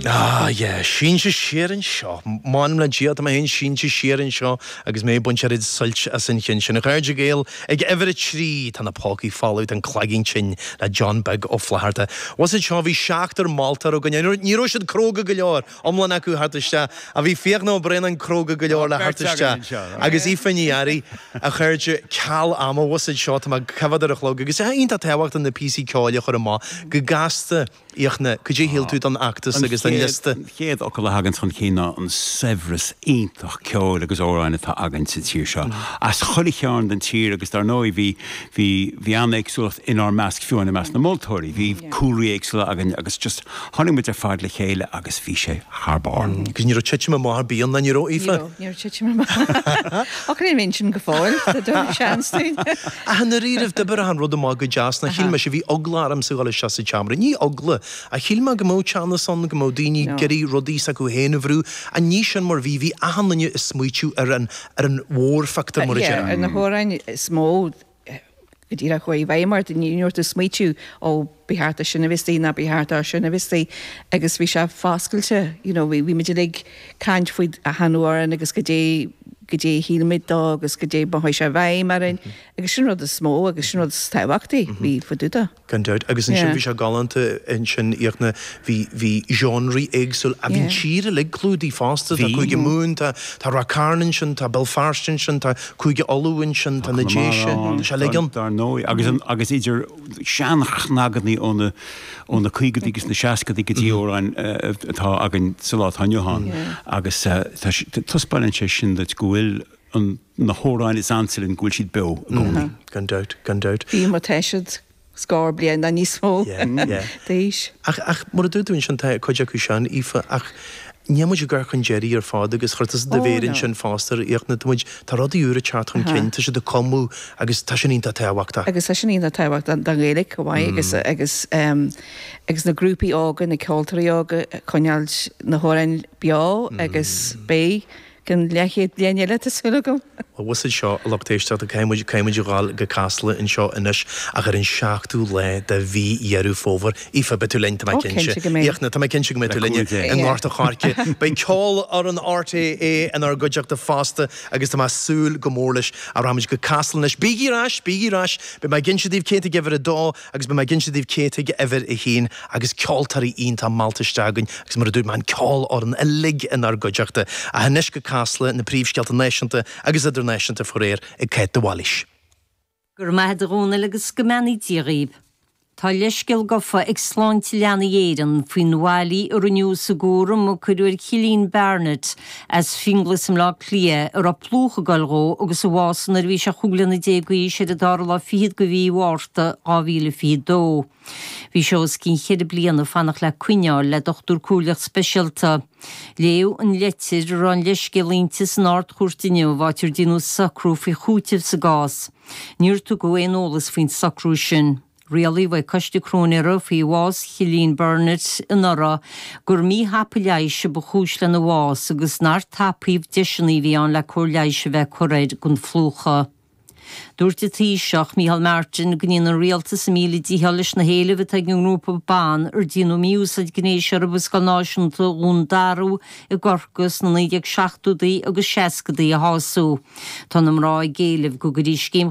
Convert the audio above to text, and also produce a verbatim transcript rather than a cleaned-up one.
Ah, yeah, sínte siar anseo. M'anam le Dia tá mé féin sínte siar anseo agus mé ag baint oiread suilt as an cheann sin. A chairde Gael, ag uimhir a trí tá na pócaí folamh, tá an cloigín tinn le John Beag Ó Flatharta. Was it seo bhí seachtar moltóir againn, ní raibh siad cróga go leor, iomlán acu theacht isteach, a bhí Fiachna Ó Braonáin cróga go leor le theacht isteach. Agus Aoife Ní Fhearraigh a chairde ceal ama was it seo tá mé coimhéad ar a chlog agus é iontach tábhachtach na píosaí ceoil a chur amach go gasta Fhiachna, cad é shíl tú don fheachtas agus don liosta? An chéad fhocal a thagann chun cinn ná an saibhreas iontach ceoil agus amhráin atá againn sa tír seo. As chuile chearn den tír agus dar ndóigh bhí bhí bhí an-éagsúlacht inár measc fiú i measc na moltóirí, bhí cúlraí éagsúla againn agus just tháinig muid ar fad le chéile agus bhí sé thar barr. Agus ní raibh titim amach ar bith ann, ní raibh Aoife? Ní raibh titim amach. Ach ní raibh sin go fóill, seans dúinn. Ach i ndáiríribh d'oibrigh an rud amach go deas na shíl mé sé bhí eagla ormsa dul isteach sa tseomra. Ní eagla a shíl mé go mbeadh teannas ann go mbeadh daoine ag iarraidh rudaí s'acu féin a bhrú a ní sin mar bhí bhí achan duine ag smaoitiú ar an ar an mhórphictiúr mar a déarfá. Ar na hamhráin is mó go díreach chuaigh i bhfeidhm ort ní raibh tú ag smaoitiú ó ba cheart sin a bheith istigh ná ba cheart sin a bheith istigh agus bhí sé foscailte you know bhí muid ag caint faoi achan amhrán agus go dté go dté shíl dó agus go dté ba sé bheidhm orainn agus sin rud is mó agus sin rud is tábhachtaí bhí fadúda. Gan dabht agus ansin bhí sé galánta ansin Fhiachna bhí bhí genres éagsúil a bhí tír uilig clúdaithe fosta tá Cúige Mumhan tá tá Ráth Cairn ansin tá Béal Feirste ansin tá Cúige Uladh ansin tá na Déise tá sé uilig ann. Dar ndóigh agus an agus idir seanchnagaidí ó na ó na caogaidí agus na seascadaí go dtí amhráin atá againn sa lá atá inniu ann agus taispeánann sé sin duit go bhfuil an na hamhráin is ansa linn go bhfuil siad beo i gcónaí. Gan dabht, gan dabht. Bhí má tá siad scór bliain ná níos mó d'aois. Ach ach mar a dúirt tú ansin tá cuid acu sean Aoife ach níl muid ag gabháil chun deiridh ar fad agus chuir tusa do mhéar ansin fosta a Fhiachna tá muid tá rudaí úra ag teacht chun cinn tá siad ag cumadh agus tá sin iontach tábhachtach. Agus tá sin iontach tábhachtach don Ghaeilge chomh maith agus agus um, agus na grúpaí óga na ceoltóirí óga coinneáil na hamhráin beo agus beidh go leathchéad bliain eile tá súil agam. Bhus seo a lucht éisteachta caithfimid caithfimid a ghabháil go Casla anseo anois ach ar an seachtú lá de mhí Dheireadh Fómhair. Aoife beidh tú linn tá mé Ó, cinnte. cinnte go mbeidh. Fhiachna tá mé cinnte go mbeidh tú linn i nGort an Choirce. Beidh ceolfhoireann RTÉ inár gcuideachta fosta agus tá mé ag súil go mór leis a rachaimid go Casla anois. Bígí ar ais, bígí ar ais, Beidh mé ag inse daoibh cé atá ag uimhir a dó agus beidh mé ag inse daoibh cé atá ag uimhir a haon agus ceoltóirí iontach meallta isteach againn agus mar a dúirt mé an ceolfhoireann uilig inár gcuideachta. Ach anois go Casla na príomhscéalta náisiúnta agus idirnáisiúnta faraor ag Cáit de Bhailís. Gur maith a Dhónaill agus go mbeannaí Dia dhaoibh. Tá leithscéal gafa ag Sláinte Leanaí Éireann faoin bhfaillí a rinneadh sa gcúram a cuireadh ar Chillian Barnett as Finglas i mBleá Cliath a raibh plúchadh ag goil dhó agus a bhásaigh nuair a bhí sé chúig bliana déag d'aois ar an dara lá fichead de mhí Mhárta dhá mhíle fiche dó. Bhí sé os cionn cheithre bliana ag fanacht le coinneáil le dochtúir comhairleach speisialta. Léadh an litir a raibh an leithscéal inti san Ard-Chúirt inniu, áit ar déanadh socrú faoi chúiteamh sa gcás. Níor tugadh aon eolas faoin socrú sin. Rialaigh coiste cróinéara faoi bhás Chillian Burnett anuraidh gur míthapa leighis a ba chúis lena bhás agus nár tapaíodh deiseanna a bhí ann le cóir leighis a bheith curtha air don phlúchadh. Dúirt an Taoiseach Micheál Martin go ndéanann an rialtas a míle dícheall leis na héilimh atá ag an ngrúpa ban ar déanadh mí-úsáid gnéis orthu i Scoil Náisiúnta Dhún Darbh i gCorcaigh sna naoi déag seachtóidí agus seascadaí a shású. Tá na mná ag éileamh go gcuirfí scéim